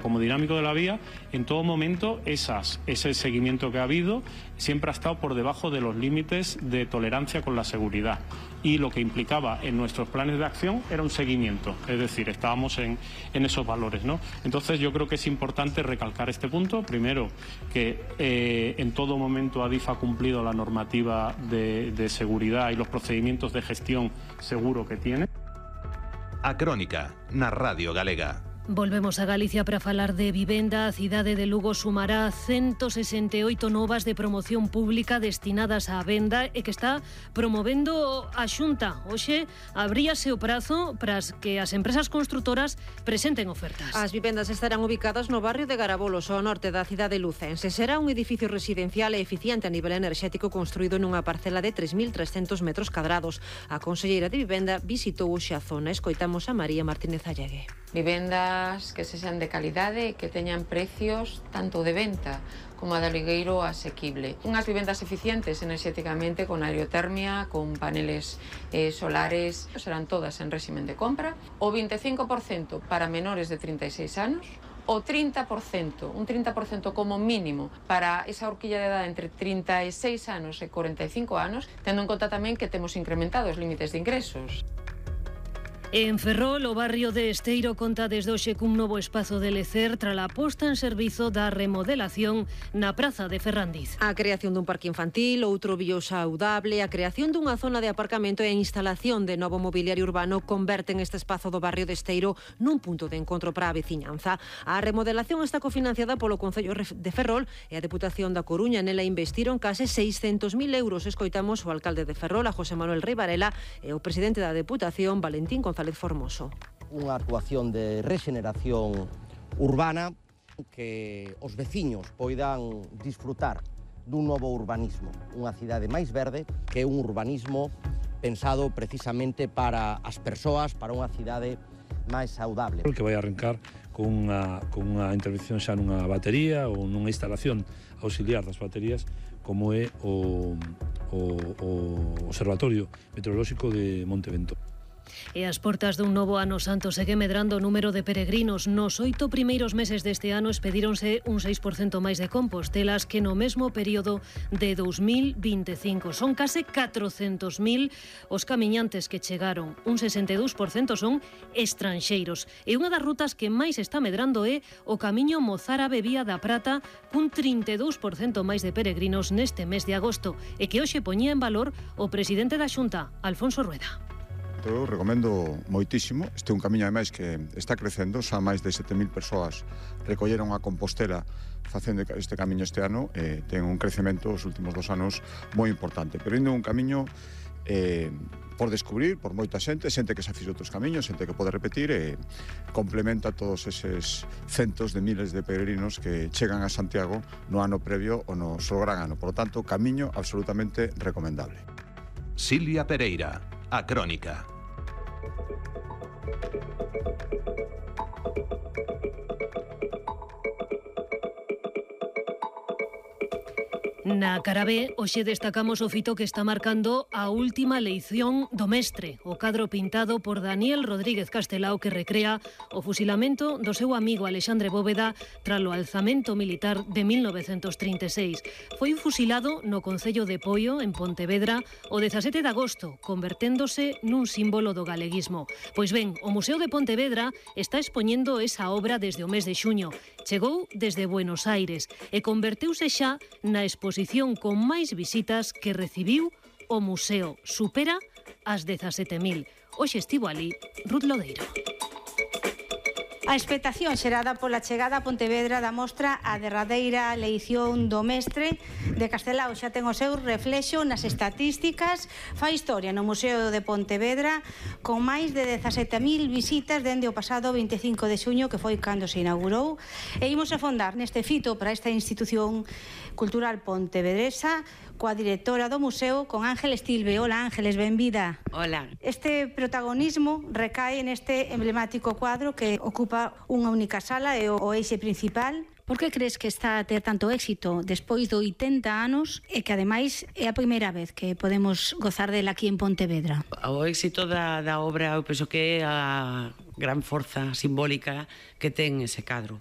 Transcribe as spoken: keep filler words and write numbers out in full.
Como dinámico de la vía, en todo momento esas, ese seguimiento que ha habido siempre ha estado por debajo de los límites de tolerancia con la seguridad. Y lo que implicaba en nuestros planes de acción era un seguimiento, es decir, estábamos en, en esos valores, ¿no? Entonces yo creo que es importante recalcar este punto. Primero, que eh, en todo momento Adif ha cumplido la normativa de, de seguridad y los procedimientos de gestión seguro que tiene. A Crónica, na Radio Galega. Volvemos a Galicia para falar de vivenda. A cidade de Lugo sumará ciento sesenta e oito novas de promoción pública destinadas á venda e que está promovendo a Xunta. Hoxe abríase o prazo para que as empresas construtoras presenten ofertas. As vivendas estarán ubicadas no barrio de Garabolos, ao norte da cidade lucense. Será un edificio residencial e eficiente a nivel enerxético construído nunha parcela de tres mil trescentos metros cadrados. A conselleira de Vivenda visitou hoxe a zona. Escoitamos a María Martínez Allegue. Vivendas que sexan de calidade e que teñan precios tanto de venta como de alugueiro asequible. Unhas vivendas eficientes enerxéticamente con aerotermia, con paneles eh, solares, serán todas en réximen de compra. O vinte e cinco por cento para menores de trinta e seis anos, o trinta por cento, un trinta por cento como mínimo para esa horquilla de edad entre trinta e seis anos e cuarenta e cinco anos, tendo en conta tamén que temos incrementado os límites de ingresos. En Ferrol, o barrio de Esteiro conta desde hoxe cun novo espazo de lecer tras a posta en servizo da remodelación na praza de Ferrandiz. A creación dun parque infantil, outro bio saudable, a creación dunha zona de aparcamento e a instalación de novo mobiliario urbano converten este espazo do barrio de Esteiro nun punto de encontro para a veciñanza. A remodelación está cofinanciada polo Concello de Ferrol e a Deputación da Coruña. Nela investiron case seiscentos mil euros. Escoitamos o alcalde de Ferrol, a José Manuel Rei Varela, e o presidente da Deputación, Valentín González Formoso. Unha actuación de rexeneración urbana que os veciños poidan disfrutar dun novo urbanismo, unha cidade máis verde, que é un urbanismo pensado precisamente para as persoas, para unha cidade máis saudable. Que vai arrancar con unha, con unha intervención xa nunha batería ou nunha instalación auxiliar das baterías, como é o, o, o Observatorio Meteorolóxico de Montevento. E as portas dun novo ano santo segue medrando o número de peregrinos. Nos oito primeiros meses deste ano expedíronse un seis por cento máis de compostelas que no mesmo período de dous mil vinte e cinco. Son case catrocentos mil os camiñantes que chegaron. Un sesenta e dous por cento son estranxeiros. E unha das rutas que máis está medrando é o camiño Mozárabe-Vía da Prata, cun trinta e dous por cento máis de peregrinos neste mes de agosto, e que hoxe poñía en valor o presidente da Xunta, Alfonso Rueda. Eu recomendo moitísimo. Este é un camiño ademais que está crecendo. Xa máis de sete mil persoas recolleron a Compostela facendo este camiño este ano. eh, ten un crecemento os últimos dos anos moi importante, pero indo un camiño eh, por descubrir por moita xente, xente que xa fixo outros camiños, xente que pode repetir, e complementa todos eses centos de miles de peregrinos que chegan a Santiago no ano previo ou no seu gran ano. Por lo tanto, camiño absolutamente recomendable. Silvia Pereira, A Crónica. Na cara B, hoxe destacamos o fito que está marcando a última eleición do mestre, o cadro pintado por Daniel Rodríguez Castelao, que recrea o fusilamento do seu amigo Alexandre Bóveda tralo alzamento militar de mil novecentos trinta e seis. Foi fusilado no concello de Poio, en Pontevedra, o dezasete de agosto, converténdose nun símbolo do galeguismo. Pois ben, o Museo de Pontevedra está expoñendo esa obra desde o mes de xuño. Chegou desde Buenos Aires e converteuse xa na exposición con máis visitas que recibiu o museo. Supera as dezasete mil. Hoxe estivo ali Ruth Lodeiro. A expectación xerada pola chegada a Pontevedra da mostra A derradeira eleición do mestre de Castelao xa ten o seu reflexo nas estatísticas. Fai historia no Museo de Pontevedra con máis de dezasete mil visitas dende o pasado vinte e cinco de xuño, que foi cando se inaugurou. E imos afondar neste fito para esta institución cultural pontevedresa coa directora do museo, con Ángeles Tilbe. Hola Ángeles, benvida. Hola. Este protagonismo recae neste emblemático cuadro que ocupa unha única sala e o eixe principal. Por que crees que está a ter tanto éxito despois de oitenta anos e que ademais é a primeira vez que podemos gozar dela aquí en Pontevedra? O éxito da, da obra, eu penso que é a gran forza simbólica que ten ese cadro.